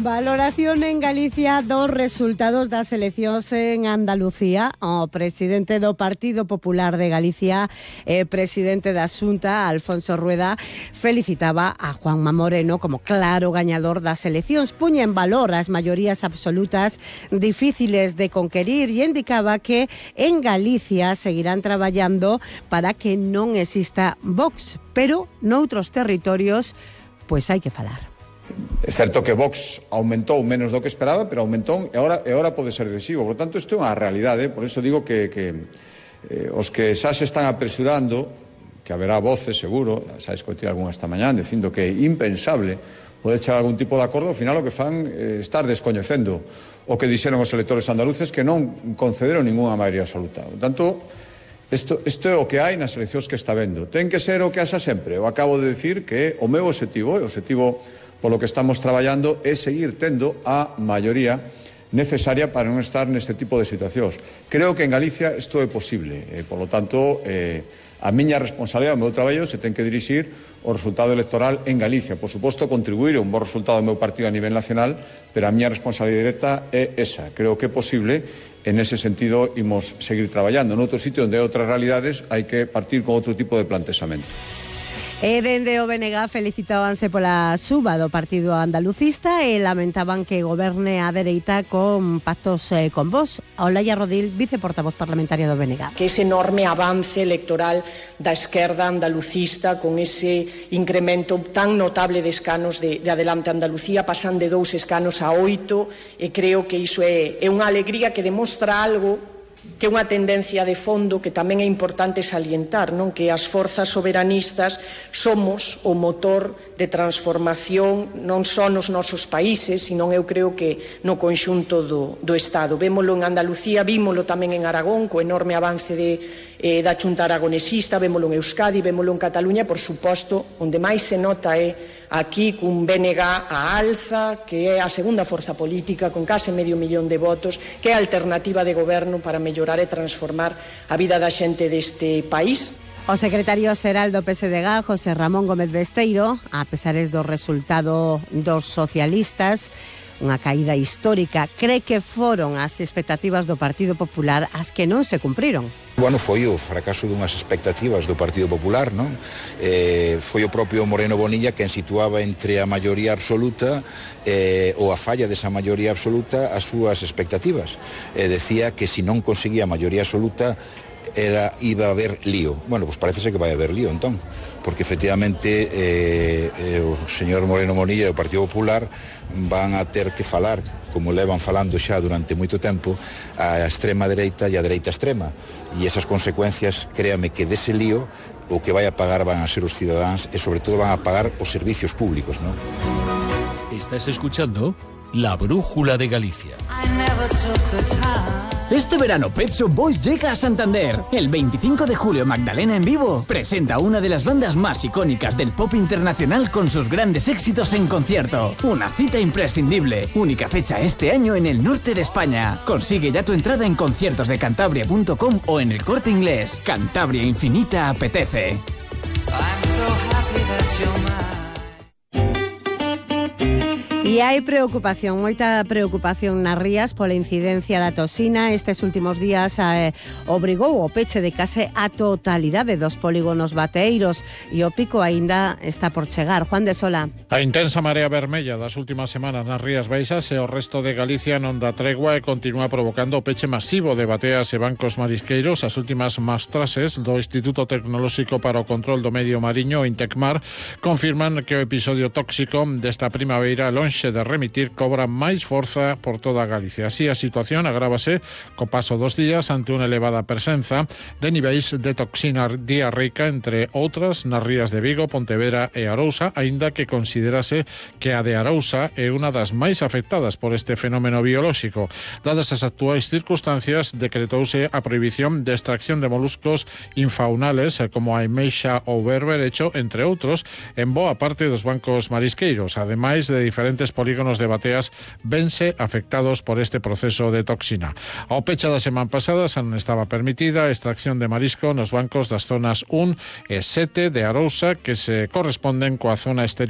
Valoración en Galicia dos resultados das eleccións en Andalucía. O presidente do Partido Popular de Galicia e presidente da Xunta, Alfonso Rueda, felicitaba a Juanma Moreno como claro gañador das eleccións. Puña en valor as maiorías absolutas difíciles de conquerir e indicaba que en Galicia seguirán traballando para que non exista Vox, pero noutros territorios pois hai que falar. É certo que Vox aumentou menos do que esperaba, pero aumentou e agora pode ser decisivo. Por tanto, isto é unha realidade. Por iso digo que os que xa se están apresurando, que haberá voces, seguro, xa escoitei algunha esta mañá, dicindo que é impensable poder chegar a algún tipo de acordo, ao final o que fan estar descoñecendo o que dixeron os electores andaluces, que non concederon ningunha maioría absoluta. Por tanto, isto é o que hai nas eleccións que está vendo. Ten que ser o que haxa sempre. Eu acabo de decir que o meu objetivo, polo que estamos traballando, é seguir tendo a maioría necesaria para non estar neste tipo de situacións. Creo que en Galicia isto é posible. Por lo tanto, a miña responsabilidade, o meu traballo, se ten que dirixir o resultado electoral en Galicia. Por suposto, contribuir a un bo resultado do meu partido a nivel nacional, pero a miña responsabilidade directa é esa. Creo que é posible. En ese sentido, imos seguir traballando. En outro sitio onde hai outras realidades, hai que partir con outro tipo de planteamento. E dende o BNG felicitábanse pola suba do partido andalucista e lamentaban que goberne a dereita con pactos con Vox. Olaya Rodil, viceportavoz parlamentaria do BNG. Que ese enorme avance electoral da esquerda andalucista con ese incremento tan notable de escanos de Adelante Andalucía, pasan de 2 escanos a 8, e creo que iso é unha alegría que demostra algo que é unha tendencia de fondo que tamén é importante salientar, non? Que as forzas soberanistas somos o motor de transformación non só nos nosos países, sino eu creo que no conxunto do Estado. Vémolo en Andalucía, vímolo tamén en Aragón, co enorme avance da Xunta aragonesista, vémolo en Euskadi, vémolo en Cataluña, por suposto, onde máis se nota é aquí cun BNG a alza, que é a segunda forza política con case 500.000 de votos, que é a alternativa de goberno para mellorar e transformar a vida da xente deste país. O secretario xeral do PSDG, José Ramón Gómez Besteiro, a pesares do resultado dos socialistas, unha caída histórica, cree que foron as expectativas do Partido Popular as que non se cumpriron. Bueno, foi o fracaso dunhas expectativas do Partido Popular, non? Foi o propio Moreno Bonilla quen situaba entre a maioría absoluta ou a falla desa maioría absoluta as súas expectativas. Decía que se non conseguía a maioría absoluta iba a haber lío. Bueno, pues parece ser que vai haber lío entón, porque efectivamente o señor Moreno Bonilla e o Partido Popular van a ter que falar, como levan falando xa durante moito tempo, a extrema dereita e a dereita extrema, e esas consecuencias, créame que dese lío o que vai a pagar van a ser os cidadáns e sobre todo van a pagar os servicios públicos, ¿no? Estás escuchando La Brújula de Galicia. Este verano Pet Shop Boys llega a Santander. El 25 de julio Magdalena en vivo presenta una de las bandas más icónicas del pop internacional con sus grandes éxitos en concierto. Una cita imprescindible. Única fecha este año en el norte de España. Consigue ya tu entrada en conciertosdecantabria.com o en el Corte Inglés. Cantabria Infinita apetece. E hai preocupación, moita preocupación nas rías pola incidencia da toxina. Estes últimos días obrigou o peche de case a totalidade dos polígonos bateeiros e o pico aínda está por chegar. Juan de Sola. A intensa marea vermella das últimas semanas nas Rías Baixas e o resto de Galicia non dá tregua e continúa provocando o peche masivo de bateas e bancos marisqueiros. As últimas mastrases do Instituto Tecnolóxico para o Control do Medio Mariño, Intecmar, confirman que o episodio tóxico desta primavera lonxe de remitir cobra máis forza por toda Galicia. Así a situación agrávase co paso dos días ante unha elevada presenza de niveis de toxina diarreica, entre outras nas rías de Vigo, Pontevedra e Arousa, aínda que considerase que a de Arousa é unha das máis afectadas por este fenómeno biolóxico. Dadas as actuais circunstancias, decretouse a prohibición de extracción de moluscos infaunales como a ameixa ou berberecho, entre outros, en boa parte dos bancos marisqueiros, ademais de diferentes polígonos de bateas vense afectados por este proceso de toxina. Ao pecha da semana pasada xa non estaba permitida a extracción de marisco nos bancos das zonas 1 e 7 de Arousa, que se corresponden coa zona exterior